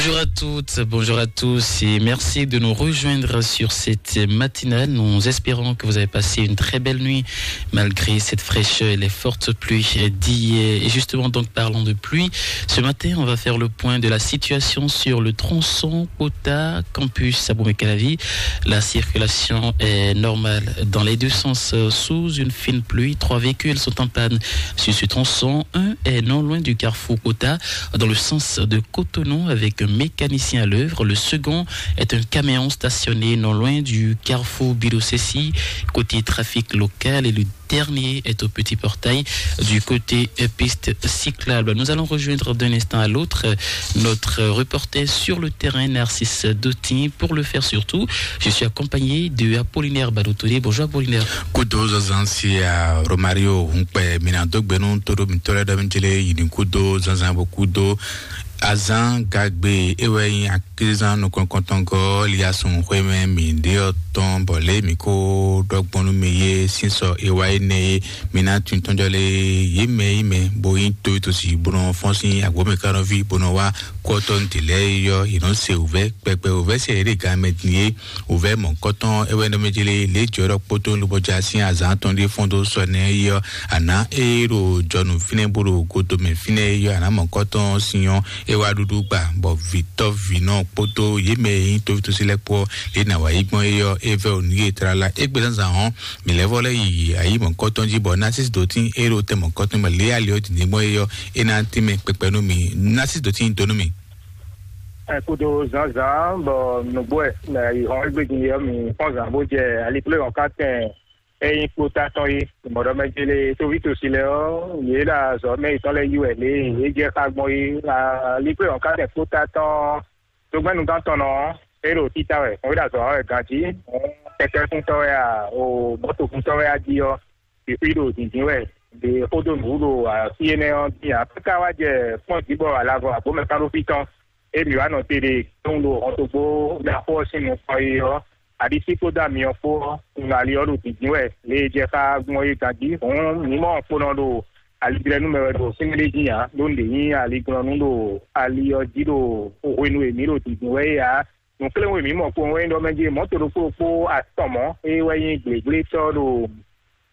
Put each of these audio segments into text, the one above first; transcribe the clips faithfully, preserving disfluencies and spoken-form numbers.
Bonjour à toutes, bonjour à tous et merci de nous rejoindre sur cette matinale. Nous espérons que vous avez passé une très belle nuit malgré cette fraîcheur et les fortes pluies d'hier. Et justement, donc, parlons de pluie. Ce matin, on va faire le point de la situation sur le tronçon Kota Campus à Boumekalavi. La circulation est normale dans les deux sens, euh, sous une fine pluie. Trois véhicules sont en panne sur ce tronçon. Un est non loin du carrefour Kota, dans le sens de Cotonou, avec un mécanicien à l'œuvre. Le second est un camion stationné non loin du carrefour Bilosessi, côté trafic local. Et le dernier est au petit portail du côté, euh, piste cyclable. Nous allons rejoindre d'un instant à l'autre, euh, notre reporter sur le terrain, Narcisse Dotin. Pour le faire surtout, je suis accompagné de Apollinaire Balotodé. Bonjour Apollinaire. Kudo zazan si a Romario Hunkpe, mina do gbenu todo mitole do mitele yini kudo zazan bo kudo azan gagbe ewɛ yin akizan nukɔnkɔntɔngɔ liasun xwemɛ mi de ɔ tɔn bɔ lé mi ko dɔgbɔnu mi ye sinsɔ ewa yi ne ye, mi na tun tɔnjɔ le ye mɛ yi mɛ bo yin to to si bonɔ fɔn sin agbɔmɛ kanɔvi bonɔ wa kɔtɔn tɛlɛ yɔ yinɔ se ovɛ kpɛkpɛ ovɛ se ere gan mɛ din ye. Wǔvɛ́ mɔ̌kɔtɔn é wɛ nɔ mɛ jlé lě jɔ̌ɖɔ kpódó lobɔjá sín azǎn tɔn ɖé fɔ́n dó sɔ nɛ́ é ɔ́, àná é ɖo jɔnu fínɛ́ bó ɖo godomɛ fínɛ́ é ɔ́, àná mɔ̌kɔtɔn sin ɔ́, é wá ɖuɖu gba, bɔ vǐtɔ́ vǐnɔ kpódó yě mɛ e nyí tóvítósí lɛ́ɛ kpó ɔ́, lě nǎ wá yí gbɔn é ɔ́, é vɛ́ wǔ nú yě tlala. Égbé zǎnzǎn ɔ́, mǐ lɛ́ vɔ lɛ́ yi ayǐ mɔ̌kɔtɔn jí, bɔ Násis dǒtín é ɖo tɛn mɔ̌kɔtɔn mɛ lě ali ɔ́ dǐndín gbɔn é ɔ́, é ná tɛ́nmɛ kpɛkpɛ nú mǐ. Násis dǒtín dó nú mǐ. Ɛ kudo zǎnzǎn bɔ nǔgbó wɛ mɛ yi hɔn égbé din ɔ́, mi kpɔ́n zǎn bó jɛ aliklé hɔn ká tɛn é nyí kpótá tɔn é. Mɔ̌ɖɔmɛjélé tóvítosi lɛ́ɛ ɔ́, yě ɖo azɔ̌ mɛ yětɔn lɛ́ɛ yí wɛ lě e é jɛ xá gbɔn é. Aliklé hɔn ká tɛn kpótá tɔn ɔ́, dógbɛ́núgán tɔn nɔ ɔ́, é ɖo títá wɛ, mɔ̌ é ɖo azɔ̌ wa wɛ ganjí. Kɛkɛ́kúntɔ́ wɛ a, o mɔ̌tokúntɔ́ wɛ a jí ɔ́, ɖi xwí ɖo dǐndín wɛ, ɖe xó dó nǔ ɖo fí énɛ́ ɔ́ dín ǎ. Káká wá jɛ kpɔ́n jǐ bɔ alavɔ agbǒmɛ kán ɖó fí tɔn, é mǐ wá nɔ te ɖe kpɔ́n ɖo hɔntogbó ɖaxó ɔ́ sín nukɔn é ɔ́, aɖisí kpódó amyɔ kpó ɔ́, un ali ɔ́ ɖo dǐndín wɛ, lě e jɛ xá gbɔn é ganjí. Hǔn mǐ mɔ kponɔ ɖo alijlɛ́nú mɛ wɛ ɖo fínɛ́ ɖé dín ǎ, ɖó un ɖě nyí aliglɔ́nú ɖo ali ɔ́ jí ɖo hwenu e mǐ ɖo dǐndín wɛ é ǎ. Nǔkléwún e mǐ mɔ kpowun wɛ nyí ɖɔ mɛ jí mɔ̌to ɖokpó ɖokpó atɔn mɔ̌, é wɛ nyí gblégblétɔ́ ɖo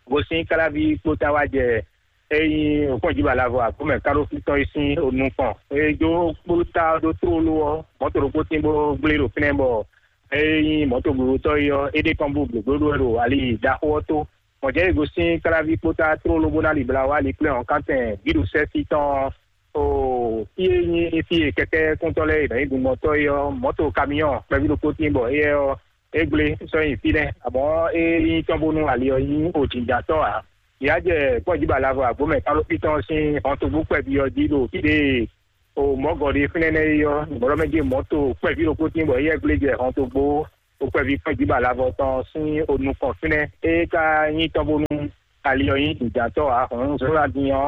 gosín Káláví kpótá wá jɛ é nyí òkpɔ́njǐbalavɔ agbǒmɛ kánɖófí tɔn é sín nukɔn. É dó kpótá ɖó tlóló ɔ́, mɔ̌to ɖokpó tín bó gblé ɖo fínɛ́ bɔ é nyí mɔ̌to gblǒtɔ́ é ɔ́, é ɖe kɔn bú gběgbléɖó wɛ ɖo ali ɖaxó ɔ́ tó. Mɔ̌ jɛ́n é gosín Káláví kpótá tlóló bó ná libla wá ali kplé hɔnkántɛn bǐɖusɛ́ fí tɔn ɔ́. Oo, fí e nyí fí e kɛkɛ́kúntɔ́ lɛ́ɛ e nɔ nyí gunmɔtɔ́ é ɔ́, mɔ̌to kamiyɔ́n kpɛví ɖokpó tíin bɔ éyɛ́ ɔ́, é gblé sɔ́ nyi fínɛ́, amɔ̌ é nyí tɔ́n bónú ali ɔ́ nyí òjǐjǎtɔ́ ǎ. Yě wá jɛ kpɔ́njíbalavɔ agbǒmɛ kánɖófítɔ́n sín hɔntogbó kpɛví ɔ́ jí ɖo fí ɖé e o mɔ̌gɔ́ ɖé fínɛ́ nɛ́ é ɔ́, nǔgbɔ́ɖɔ́ mɛ jí mɔ̌to kpɛví ɖokpó tíin bɔ éyɛ́ gblé jɛ hɔntogbó kpɛví kpɔ́njíbalavɔ tɔn sín onukɔn fínɛ́. É ka nyí tɔ́n bónú ali ɔ́ nyí dǐndátɔ́ ǎ. Hǔn zɔ́nlá din ɔ́,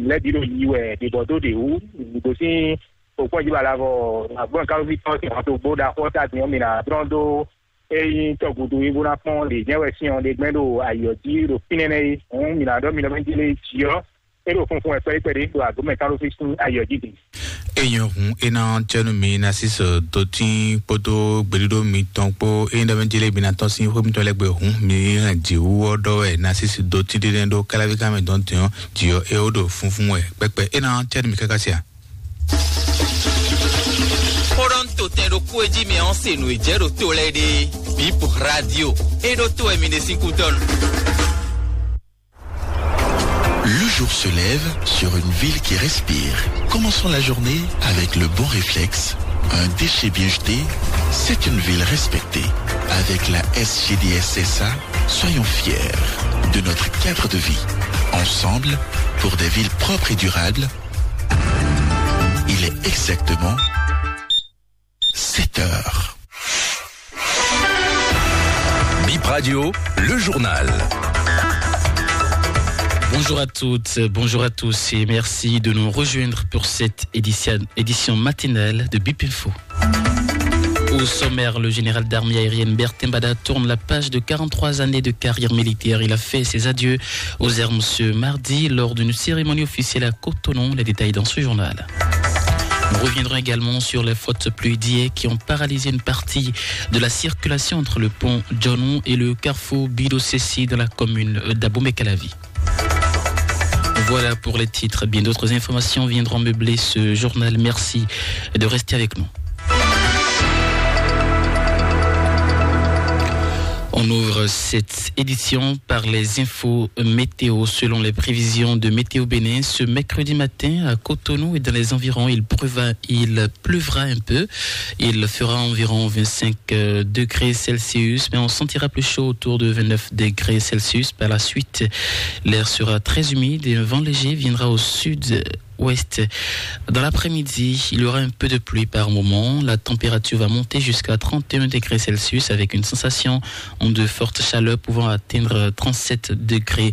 lɛ́ bǐ ɖo yi wɛ ɖě bɔ dó ɖě wú. Gosín òkpɔ́njíbalavɔ agbɔ́n kálóví tɔn sín hɔntogbó ɖaxó ɔ́ ta din ɔ́, mǐ ná dlɔ́n dó é nyí tɔgǔdú é bó ná kpɔ́n ɖě jɛ́n wɛ sín ɔ́ ɖe gbɛ́ ɖo ayǐ ɔ́ jí ɖo fínɛ́ nɛ́ é. Hǔn mǐ ná ɖɔ mi nɔ mɛ jí lé jǐ ɔ́, é ɖo funfun wɛ kpɛɖé kpɛɖé ɖo agbǒmɛ kálóví sín ayǐ ɔ́ jí din. Enyɔ hun ena cɛnu mi na sisɔ dotin kpódó gbeɖuɖo mitɔn kpó eye ɖɔ mɛ jele mi na tɔn sín xwé mitɔn lɛ́ gbé hun mi hɛn jǐwú ɔ́ ɖɔ wɛ na sisi dotin ɖé nɛ ɖó káláví ká mɛ dɔn tɛn ɔ́ jǐ ɔ́ é ó ɖo funfun wɛ kpɛkpɛ ena cɛnu mi káká sia. Kpɔɖɔn to tɛn ɖokpó e jí mi ɔ́ se nǔ e jɛ ɖo to lɛ́ɛ ɖe bip radio e ɖo to wɛ mi ɖe sín kútɔnu. Le jour se lève sur une ville qui respire. Commençons la journée avec le bon réflexe. Un déchet bien jeté, c'est une ville respectée. Avec la S G D S S A, soyons fiers de notre cadre de vie. Ensemble, pour des villes propres et durables, il est exactement sept heures. Bip Radio, le journal. Bonjour à toutes, bonjour à tous et merci de nous rejoindre pour cette édition, édition matinale de Bip Info. Au sommaire, le général d'armée aérienne Bertin Bada tourne la page de quarante-trois années de carrière militaire. Il a fait ses adieux aux armes ce mardi lors d'une cérémonie officielle à Cotonou. Les détails dans ce journal. Nous reviendrons également sur les fortes pluies d'hier qui ont paralysé une partie de la circulation entre le pont Johnou et le carrefour Bidosessi dans la commune d'Abomey-Calavi. Voilà pour les titres. Bien d'autres informations viendront meubler ce journal. Merci de rester avec nous. On ouvre cette édition par les infos météo. Selon les prévisions de Météo Bénin, ce mercredi matin à Cotonou et dans les environs, il pleuvra, il pleuvra un peu. Il fera environ vingt-cinq, euh, degrés Celsius, mais on sentira plus chaud autour de vingt-neuf degrés Celsius. Par la suite, l'air sera très humide et un vent léger viendra au sud ouest. Dans l'après-midi, il y aura un peu de pluie par moment. La température va monter jusqu'à trente et un degrés Celsius avec une sensation de forte chaleur pouvant atteindre trente-sept degrés.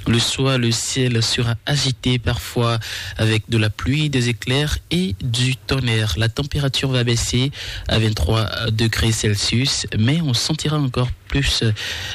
Le soir, le ciel sera agité parfois avec de la pluie, des éclairs et du tonnerre. La température va baisser à vingt-trois degrés Celsius, mais on sentira encore plus, euh,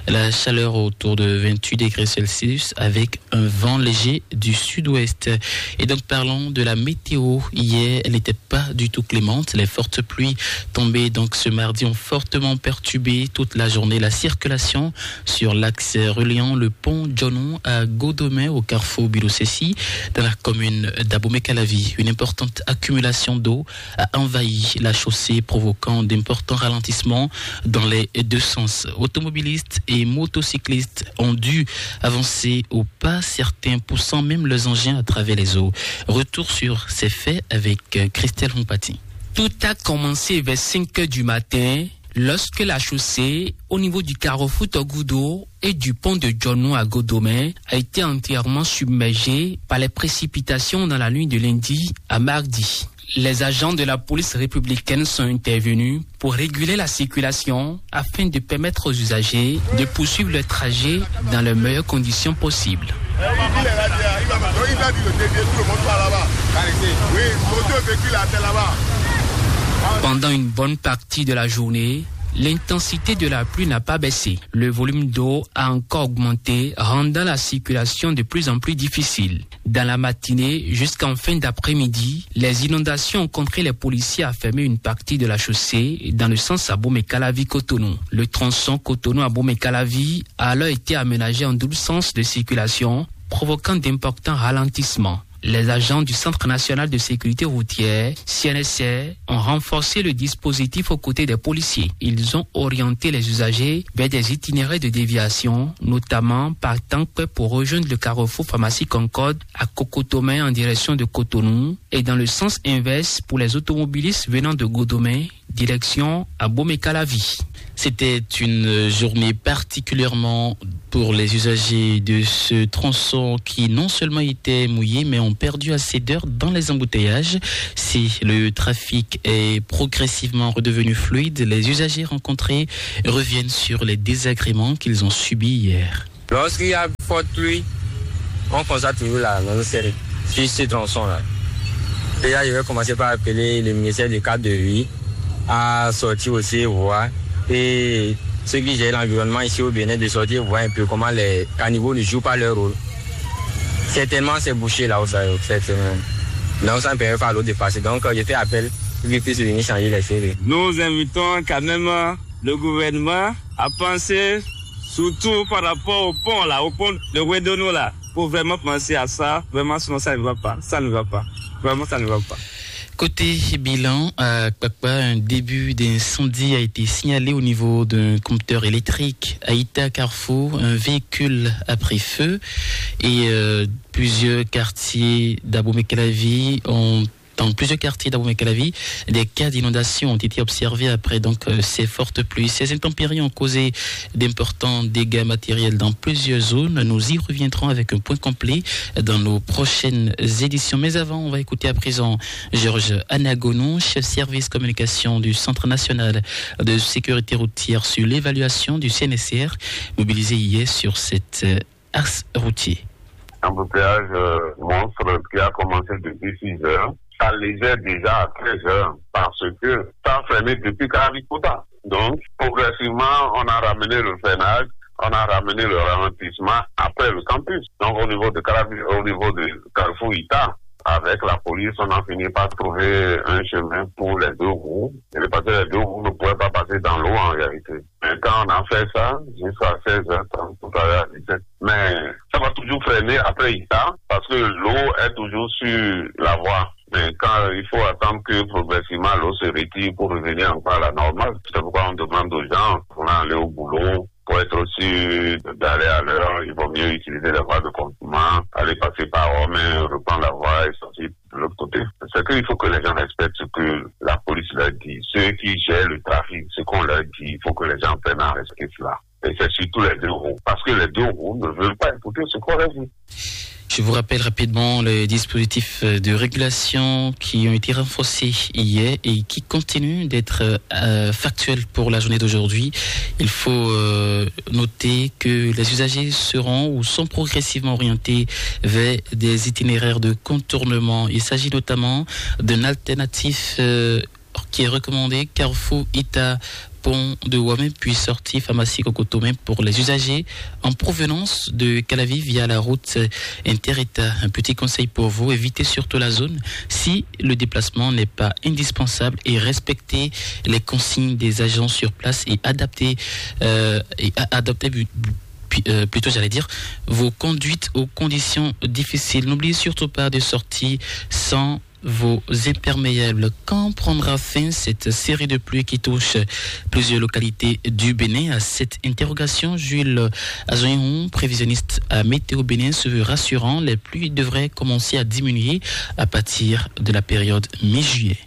la chaleur autour de vingt-huit degrés Celsius avec un vent léger du sud-ouest. Et donc, parlons de la météo. Hier, elle n'était pas du tout clémente. Les fortes pluies tombées donc ce mardi ont fortement perturbé toute la journée la circulation sur l'axe reliant le pont Johnou à Godomé au carrefour Bilosessi dans la commune d'Abomey-Calavi. Une importante accumulation d'eau a envahi la chaussée, provoquant d'importants ralentissements dans les deux sens. Automobilistes et motocyclistes ont dû avancer au pas, certains poussant même leurs engins à travers les eaux. Retour sur ces faits avec, euh, Christelle Hompati. Tout a commencé vers cinq heures du matin, lorsque la chaussée, au niveau du carrefour Togudo et du pont de Johnou à Godomé, a été entièrement submergée par les précipitations dans la nuit de lundi à mardi. Les agents de la police républicaine sont intervenus pour réguler la circulation afin de permettre aux usagers de poursuivre leur trajet dans les meilleures conditions possibles. Pendant une bonne partie de la journée, l'intensité de la pluie n'a pas baissé. Le volume d'eau a encore augmenté, rendant la circulation de plus en plus difficile. Dans la matinée jusqu'en fin d'après-midi, les inondations ont contraint les policiers à fermer une partie de la chaussée dans le sens Abomey-Calavi-Cotonou. Le tronçon Cotonou-Abomey-Calavi a alors été aménagé en double sens de circulation, provoquant d'importants ralentissements. Les agents du Centre national de sécurité routière, C N S R, ont renforcé le dispositif aux côtés des policiers. Ils ont orienté les usagers vers des itinéraires de déviation, notamment par Tankwé pour rejoindre le carrefour Pharmacie Concorde à Kokotomé en direction de Cotonou et dans le sens inverse pour les automobilistes venant de Godomé, direction Abomey-Calavi. C'était une journée particulièrement pour les usagers de ce tronçon qui non seulement étaient mouillés, mais ont perdu assez d'heures dans les embouteillages. Si le trafic est progressivement redevenu fluide, les usagers rencontrés reviennent sur les désagréments qu'ils ont subis hier. Lorsqu'il y a forte pluie, on constate toujours la même série sur ce tronçon-là. Déjà, je vais commencer par appeler le ministère du cadre de vie à sortir aussi voir et ceux qui gèrent l'environnement ici au Bénin de sortir voir un peu comment les caniveaux ne jouent pas leur rôle. Certainement, c'est bouché là où ça, cette semaine. Donc, ça ne permet pas à l'eau de passer. Donc, euh, je fais appel pour qu'ils puissent venir changer les séries. Nous invitons quand même, euh, le gouvernement à penser surtout par rapport au pont là, au pont de Wedono là, pour vraiment penser à ça. Vraiment, sinon ça ne va pas. Ça ne va pas. Vraiment, ça ne va pas. Côté bilan, à Kpakpa, un début d'incendie a été signalé au niveau d'un compteur électrique. À Ita Carrefour, un véhicule a pris feu et, euh, plusieurs quartiers d'Abomey-Calavi ont dans plusieurs quartiers d'Abomey-Calavi, des cas d'inondation ont été observés après donc, euh, ces fortes pluies. Ces intempéries ont causé d'importants dégâts matériels dans plusieurs zones. Nous y reviendrons avec un point complet dans nos prochaines éditions. Mais avant, on va écouter à présent Georges Anagonou, chef service communication du Centre national de sécurité routière, sur l'évaluation du C N S R mobilisé hier sur cette, euh, axe routier. Embouteillage, euh, monstre qui a commencé depuis six heures, ça légère déjà à treize heures parce que ça a fermé depuis Carabicota. Donc, progressivement, on a ramené le freinage, on a ramené le ralentissement après le campus. Donc, au niveau de Carabi-, au niveau de Carrefour Ita, avec la police, on a fini par trouver un chemin pour les deux roues. Et parce que les deux roues ne pouvaient pas passer dans l'eau en réalité. Mais quand on a fait ça, jusqu'à seize heures trente, tout à l'heure à dix-sept. Mais ça va toujours freiner après Issa, parce que l'eau est toujours sur la voie. Mais quand il faut attendre que progressivement l'eau se retire pour revenir encore à la normale, c'est pourquoi on demande aux gens, on a allé au boulot, pour être sûr d'aller à l'heure, il vaut mieux utiliser la voie de contournement, aller passer par Rome, reprendre la voie et sortir de l'autre côté. C'est qu'il faut que les gens respectent ce que la police leur dit. Ceux qui gèrent le trafic, ce qu'on leur dit, il faut que les gens apprennent à respecter cela. Et c'est surtout les deux roues. Parce que les deux roues ne veulent pas écouter ce qu'on leur dit. Je vous rappelle rapidement les dispositifs de régulation qui ont été renforcés hier et qui continuent d'être euh, factuels pour la journée d'aujourd'hui. Il faut euh, noter que les usagers seront ou sont progressivement orientés vers des itinéraires de contournement. Il s'agit notamment d'une alternative euh, qui est recommandée, Carrefour Ita, pont de Wamé, puis sortie pharmacie Cocotomé pour les usagers en provenance de Calavi via la route Interita. Un petit conseil pour vous, évitez surtout la zone si le déplacement n'est pas indispensable et respectez les consignes des agents sur place et adaptez, euh, et a- adaptez bu- bu- euh, plutôt, j'allais dire, vos conduites aux conditions difficiles. N'oubliez surtout pas de sortir sans vos imperméables. Quand prendra fin cette série de pluies qui touche plusieurs localités du Bénin? À cette interrogation, Jules Azoinhon, prévisionniste à Météo Bénin, se veut rassurant. Les pluies devraient commencer à diminuer à partir de la période mi-juillet.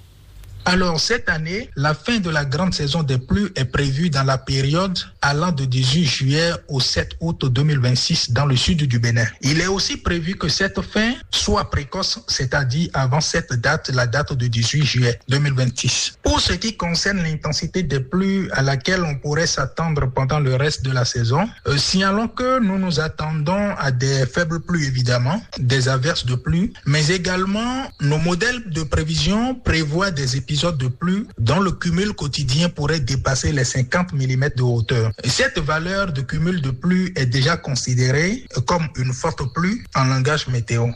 Alors, cette année, la fin de la grande saison des pluies est prévue dans la période allant de dix-huit juillet au sept août deux mille vingt-six dans le sud du Bénin. Il est aussi prévu que cette fin soit précoce, c'est-à-dire avant cette date, la date de dix-huit juillet deux mille vingt-six. Pour ce qui concerne l'intensité des pluies à laquelle on pourrait s'attendre pendant le reste de la saison, euh, signalons que nous nous attendons à des faibles pluies évidemment, des averses de pluie, mais également nos modèles de prévision prévoient des épisodes de pluie dont le cumul quotidien pourrait dépasser les cinquante millimètres de hauteur. Cette valeur de cumul de pluie est déjà considérée comme une forte pluie en langage météo.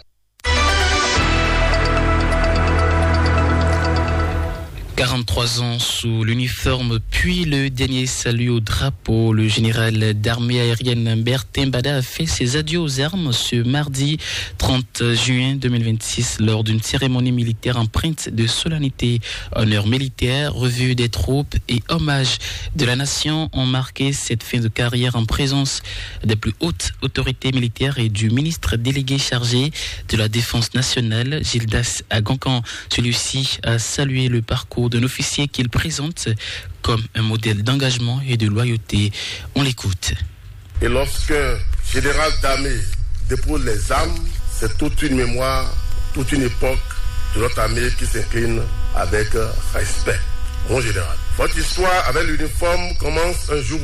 Quarante-trois ans sous l'uniforme, puis le dernier salut au drapeau. Le général d'armée aérienne Bertin Bada a fait ses adieux aux armes ce mardi trente juin deux mille vingt-six lors d'une cérémonie militaire empreinte de solennité. Honneur militaire, revue des troupes et hommage de la nation ont marqué cette fin de carrière en présence des plus hautes autorités militaires et du ministre délégué chargé de la Défense nationale, Gildas Agankan. Celui-ci a salué le parcours d'un officier qu'il présente comme un modèle d'engagement et de loyauté. On l'écoute. Et lorsqu'un général d'armée dépose les armes, c'est toute une mémoire, toute une époque de notre armée qui s'incline avec respect. Mon général, votre histoire avec l'uniforme commence un jour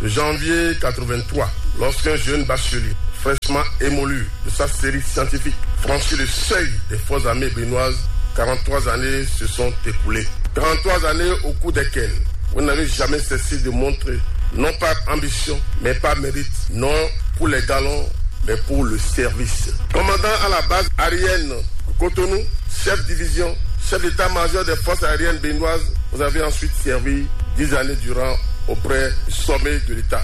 de janvier quatre-vingt-trois, lorsqu'un jeune bachelier, fraîchement émolu de sa série scientifique, franchit le seuil des forces armées béninoises. Quarante-trois années se sont écoulées. Quarante-trois années au cours desquelles vous n'avez jamais cessé de montrer, non par ambition, mais par mérite, non pour les galons, mais pour le service. Commandant à la base aérienne de Cotonou, chef division, chef d'état-major des forces aériennes béninoises, vous avez ensuite servi dix années durant auprès du sommet de l'État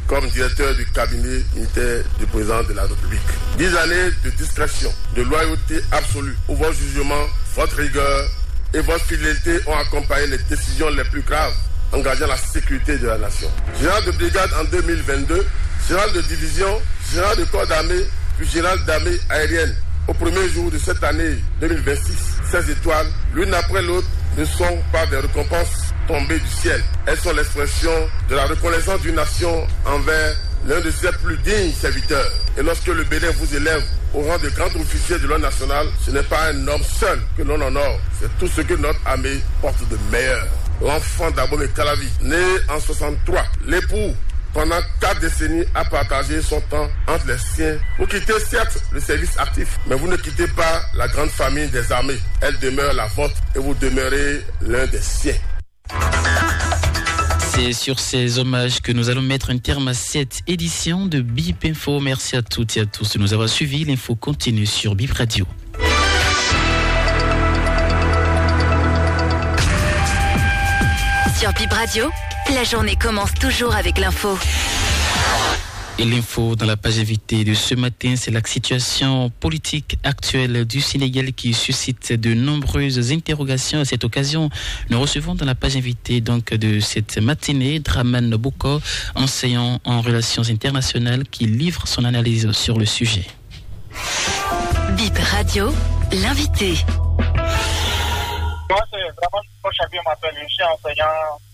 comme directeur du cabinet militaire du président de la République. Dix années de discrétion, de loyauté absolue, où vos jugements, votre rigueur et votre fidélité ont accompagné les décisions les plus graves engageant la sécurité de la nation. Général de brigade en deux mille vingt-deux, général de division, général de corps d'armée, puis général d'armée aérienne. Au premier jour de cette année deux mille vingt-six, ces étoiles, l'une après l'autre, ne sont pas des récompenses tombées du ciel. Elles sont l'expression de la reconnaissance d'une nation envers l'un de ses plus dignes serviteurs. Et lorsque le Bénin vous élève au rang de grand officier de l'ordre national, ce n'est pas un homme seul que l'on honore, c'est tout ce que notre armée porte de meilleur. L'enfant d'Abomey Calavi, né en soixante-trois, l'époux, pendant quatre décennies, a partagé son temps entre les siens. Vous quittez certes le service actif, mais vous ne quittez pas la grande famille des armées. Elle demeure la vôtre et vous demeurez l'un des siens. C'est sur ces hommages que nous allons mettre un terme à cette édition de Bip Info. Merci à toutes et à tous de nous avoir suivis. L'info continue sur Bip Radio. Dans Bip Radio, la journée commence toujours avec l'info. Et l'info dans la page invitée de ce matin, c'est la situation politique actuelle du Sénégal qui suscite de nombreuses interrogations. À cette occasion, nous recevons dans la page invitée donc de cette matinée Draman Bouko, enseignant en relations internationales, qui livre son analyse sur le sujet. Bip Radio, l'invité. Moi, c'est vraiment Bouko Chabi, on m'appelle, je suis enseignant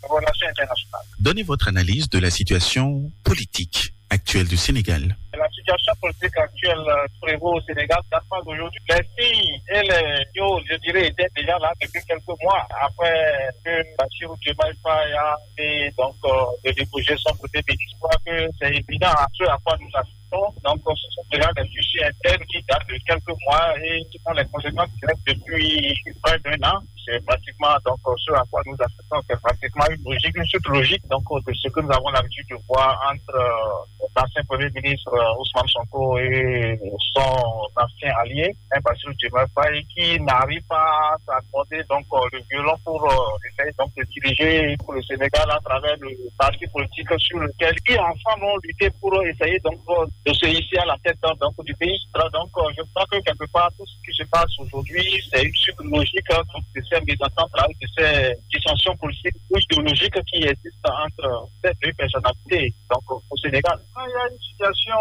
en relations internationales. Donnez votre analyse de la situation politique actuelle du Sénégal. La situation politique actuelle euh, prévaut au Sénégal date pas d'aujourd'hui. Les signes et les signaux, je dirais, étaient déjà là depuis quelques mois après que Bassirou Diomaye Faye a fait donc euh, de déposer son côté. Je crois que c'est évident à ce à quoi nous assistons. Donc, euh, ce sont déjà des fichiers internes qui datent de quelques mois et qui ont les conséquences directes depuis près d'un an. C'est pratiquement donc euh, ce à quoi nous assistons. C'est pratiquement une logique, une suite logique donc euh, de ce que nous avons l'habitude de voir entre euh, l'ancien Premier ministre euh, Ousmane Sonko et son ancien allié, un Bassirou Diomaye Faye, qui n'arrive pas à s'accorder donc euh, le violon pour euh, essayer donc de diriger pour le Sénégal à travers le parti politique sur lequel ils ensemble ont lutté pour essayer donc euh, de se hisser à la tête donc du pays. Alors donc euh, je crois que quelque part tout ce qui se passe aujourd'hui, c'est une suite logique hein, donc de ces mésententes-là, de ces dissensions politiques ou idéologiques qui existent entre ces deux personnalités donc au Sénégal. Quand il y a une situation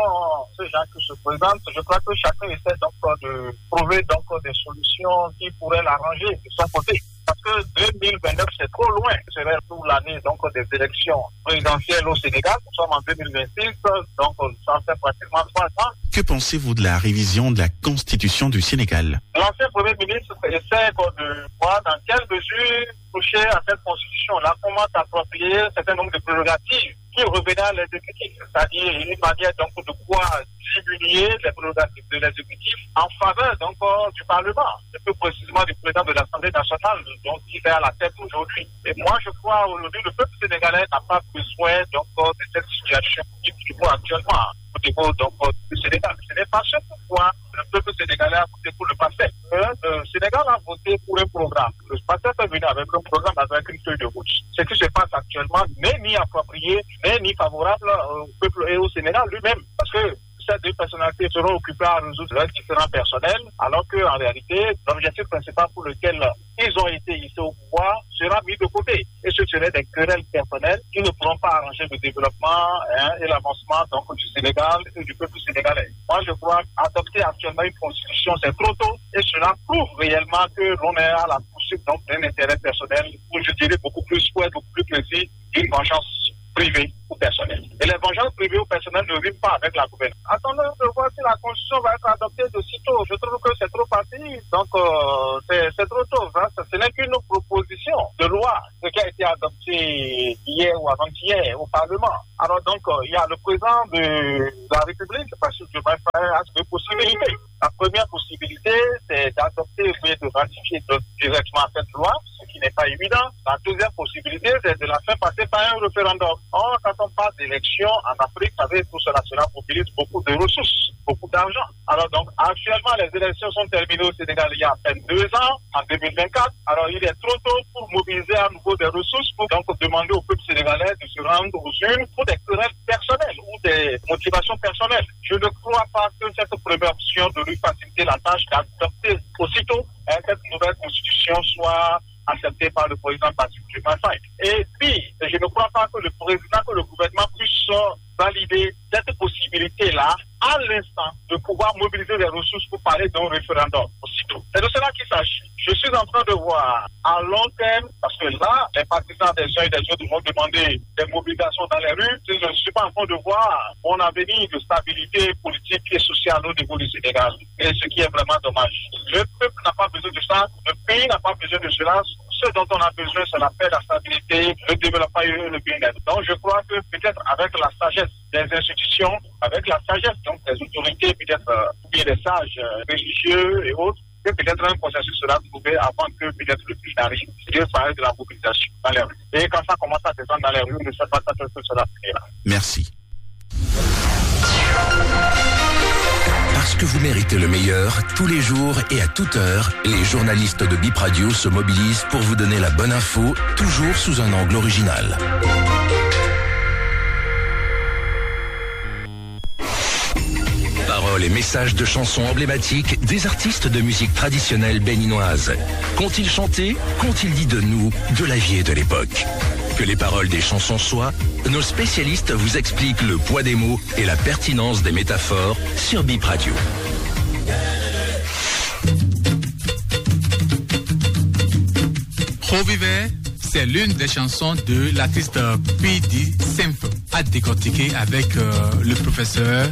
de ce genre qui se présente, je crois que chacun essaie donc de trouver donc des solutions qui pourraient l'arranger de son côté. Parce que deux mille vingt-neuf, c'est trop loin. Ce serait pour l'année donc des élections présidentielles au Sénégal. Nous sommes en deux mille vingt-six, donc ça fait pratiquement trois ans. Que pensez-vous de la révision de la constitution du Sénégal ? L'ancien Premier ministre essaie de voir dans quelle mesure toucher à cette constitution-là, comment s'approprier un certain nombre de prérogatives qui revenaient à l'exécutif, c'est-à-dire une manière donc de pouvoir diminuer les prérogatives de l'exécutif en faveur donc euh, du Parlement, et plus précisément du président de l'Assemblée nationale, donc qui est à la tête aujourd'hui. Et moi, je crois aujourd'hui le peuple sénégalais n'a pas besoin donc euh, de cette situation qui prévaut actuellement au niveau donc euh, du Sénégal. Ce n'est pas ce pourquoi le peuple sénégalais a voté pour le PASTEF. Hein, le Sénégal a voté pour un programme. Le PASTEF est venu avec un programme, avec une feuille de route. Ce qui se passe actuellement n'est ni approprié, n'est ni favorable euh, au peuple et au Sénégal lui-même. Parce que ces deux personnalités seront occupées à résoudre leurs différends personnels, alors qu'en réalité, l'objectif principal pour lequel ils ont été hissés au pouvoir sera mis de côté. Et ce serait des querelles personnelles qui ne pourront pas arranger le développement hein, et l'avancement donc, du Sénégal et du peuple sénégalais. Moi, je crois qu'adopter actuellement une constitution, c'est trop tôt. Et cela prouve réellement que l'on est à la poursuite donc, d'un intérêt personnel, ou je dirais beaucoup plus fort, beaucoup plus précis, d'une vengeance privée ou personnelle. Et les vengeances privées ou personnelles ne riment pas avec la gouvernance. Attendons de voir si la constitution va être adoptée de sitôt. Je trouve que c'est trop facile. Donc, euh, c'est trop tôt. Hein. Ce n'est qu'une proposition de loi, ce qui a été adopté hier ou avant-hier au Parlement. Alors donc, euh, il y a le président de la République, parce que je vais faire deux possibilités. La première possibilité, c'est d'adopter ou de ratifier directement cette loi, ce qui n'est pas évident. La deuxième possibilité, c'est de la faire passer par un référendum. On n'attend pas d'élection en Afrique, vous savez, tout cela, cela mobilise beaucoup de ressources, beaucoup d'argent. Alors donc, actuellement, les élections sont terminées au Sénégal il y a à peine deux ans, en deux mille vingt-quatre. Alors, il est trop tôt pour mobiliser à nouveau des ressources pour donc demander au peuple sénégalais de se rendre aux urnes pour des querelles personnelles ou des motivations personnelles. Je ne crois pas que cette première option de lui faciliter la tâche d'adopter aussitôt hein, cette nouvelle constitution soit acceptée par le président Bassirou Diomaye Faye. Et puis, je ne crois pas que le président, que le gouvernement puisse valider cette possibilité-là à l'instant de pouvoir mobiliser les ressources pour parler d'un référendum aussitôt. C'est de cela qu'il s'agit. Je suis en train de voir à long terme, parce que là, les partisans des uns et des autres vont demander des mobilisations dans les rues. Je ne suis pas en train de voir mon avenir de stabilité politique et sociale au niveau du Sénégal. Et ce qui est vraiment dommage. Le peuple n'a pas besoin de ça, le pays n'a pas besoin de cela. Ce dont on a besoin, c'est la paix, la stabilité, le développement et le bien-être. Donc je crois que peut-être avec la sagesse des institutions, avec la sagesse donc des autorités, peut-être euh, des sages euh, religieux et autres, que peut-être un consensus sera trouvé avant que peut-être le plus arrive. Je parle de la mobilisation dans les rues. Et quand ça commence à descendre dans les rues, on ne sait pas quand est-ce que cela finira. Merci. Parce que vous méritez le meilleur, tous les jours et à toute heure, les journalistes de Bip Radio se mobilisent pour vous donner la bonne info, toujours sous un angle original. Paroles et messages de chansons emblématiques des artistes de musique traditionnelle béninoise. Qu'ont-ils chanté ? Qu'ont-ils dit de nous, de la vie et de l'époque ? Que les paroles des chansons soient, nos spécialistes vous expliquent le poids des mots et la pertinence des métaphores sur Bip Radio. Rovivɛ, c'est l'une des chansons de l'artiste P D Simple, à décortiquer avec euh, le professeur